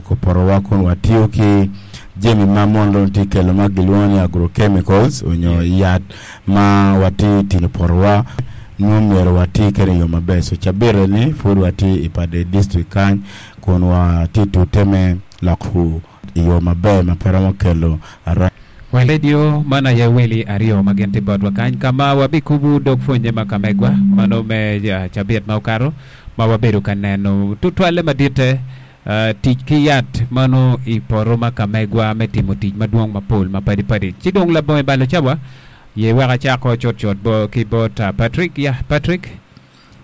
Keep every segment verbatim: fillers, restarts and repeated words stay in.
Gwoko potowa kun watiyo ki jami ma mon dong tye kelo ma gilwongo ni agrochemicals onyo yat ma watye tinyo potowa nongo myero wati kede i yo maber. So cabit ni pud watye i Pader district kany kun watye tute me loko i yo maber ma pe romo kelo ara Radio man aye weli aryo ma gin tye botwa kany ka ma wabikubo dog pwonye ma ka megwa mano me uh, cabit ma okato ma wabedo ka neno tutwalle maditte uh, tic ki yat mano i poto ma ka megwa me timo tic madwong mapol mapadi padi ci dong labongo balo cawa ye wek acako cutcut bo ki bot uh, Patrick ya Patrick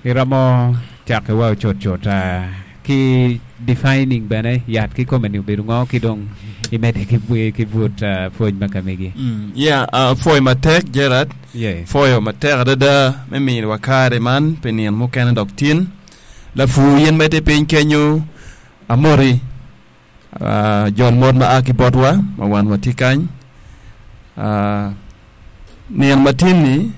iromo cako wa cutcut uh, ki defining bene yat ki kome ni obedo ngo ki dong imede ki, ki but uh, pwony ma ka megi Mm, yeah, uh, pwoyo matek Gerard yes. pwoyo matek adada me miyowa kare man pi nino mukene dok tin lapur yen ma tye piny kenyo amoti uh, jol mot ma a ki botwa ma wan watye kany uh, nino matin-ni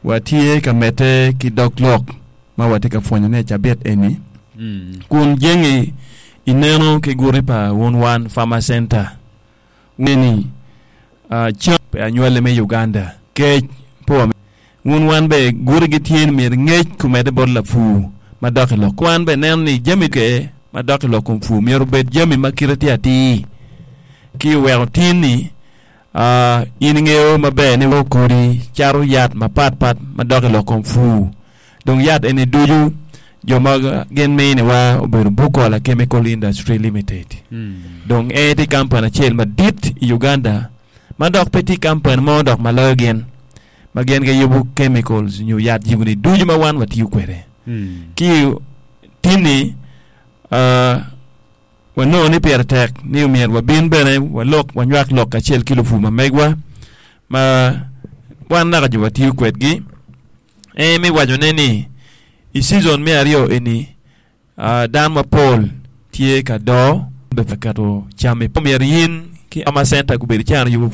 watye ka medde ki dog lok ma watye ka pwonyone i cabit eni mm. kun jengi ineno ki guti pa wun wan Farmer Center ni uh, cam pe anywali me Uganda kec po wun wan be guti gitye ni myero ngec kumede bot lapur ma dok i lok wan be neno ni jami ke ma dok i lok kom pur myero obed jami ma kite tye atir ki oweko tin ni uh, in ingeo maber ni kodi cato yat mapat pat ma dok i lok kom pur dong yat eni ducu jo ma gin miniwa obedo Bukola Chemical Industry Limited Mm. dong en tye kampani acel madit i Uganda ma dok pe tye kampani mo dok ma loyo gin ma gin giyubo chemicals nyo yat jigoni ducu ma wan watiyo kwede Mm. ki tinni uh, wanongo ni pire tek ni omyero wabin bene walok wanywak lok kacel ki lupur ma megwa ma wan naka jo watiyo kwedgi en mi wacone ni i season me aryo eni uh, dano mapol tye ka doo be ka keto cam i myero in ki ama center gubedo cano yubo